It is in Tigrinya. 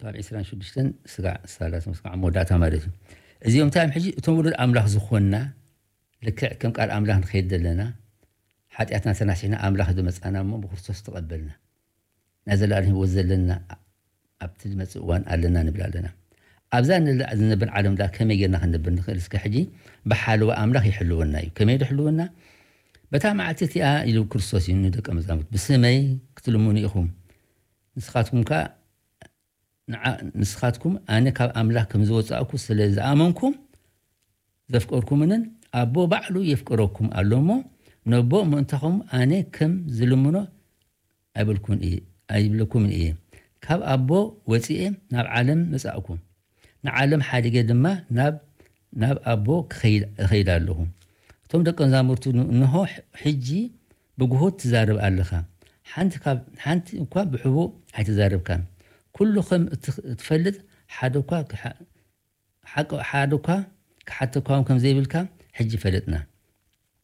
ካብ ዕስራን ሽዱሽተን ስጋዕ ሰላሳ ስጋዕ መወዳእታ ማለት እዩ። እዚኦም እንታይ እዮም? ሕጂ እቶም ውሉድ ኣምላኽ ዝኾንና፣ ልክዕ ከም ቃል ኣምላኽ ንኸይድ ዘለና፣ ሓጢኣትና ተናሲሕና ኣምላኽ ዝመጻና እሞ ብክርስቶስ ተቐበልና፣ ናይ ዘለኣለም ህይወት ዘለና ኣብቲ ዝመጽእ እዋን ኣለና ንብል ኣለና። ኣብዛ ንላ-፣ ዝነብር ዓለም ዳ ከመይ ጌርና ክንነብር ንኽእል? እስከ ሕጂ ብሓለዋ ኣምላኽ ይሕልወና እዩ። ከመይ ድሕልወና? በታ መዓልቲ እቲኣ ኢሉ ክርስቶስ እዩ ንደቀ መዛሙርት፣ "ብስመይ ክትልምኑ ኢኹም፣ ንስኻትኩም ከኣ ንዓ-፣ ንስኻትኩም ኣነ ካብ ኣምላኽ ከም ዝወጻእኩ ስለ ዝኣመንኩም ዘፍቀርኩምንን ኣቦ ባዕሉ የፍቅረኩም ኣሎ እሞ፣ ነቦ ምእንታኹም ኣነ ከም ዝልምኖ ኣይብልኩን እየ፣ ኣይብለኩምን እየ። ካብ ኣቦ ወጺኤ ናብ ዓለም መጻእኩ፣ ንዓለም ሓዲገ ድማ ናብ፣ ናብ ኣቦ ክኸይድ፣ እኸይድ ኣለኹ።" እቶም ደቀ መዛሙርቱ ን-፣ እንሆ ሕጂ ብግሁድ ትዛረብ ኣለኻ፣ ሓንቲ ካብ፣ ሓንቲ እኳ ብሕቡእ ኣይተዛረብካን። ኩሉ ከም እትኽ-፣ እትፈልጥ ሓደ እኳ ክሓ-፣ ሓቂ-፣ ሓደ እኳ ክሓተኳ እውን ከም ዘይብልካ ሕጂ ፈለጥና።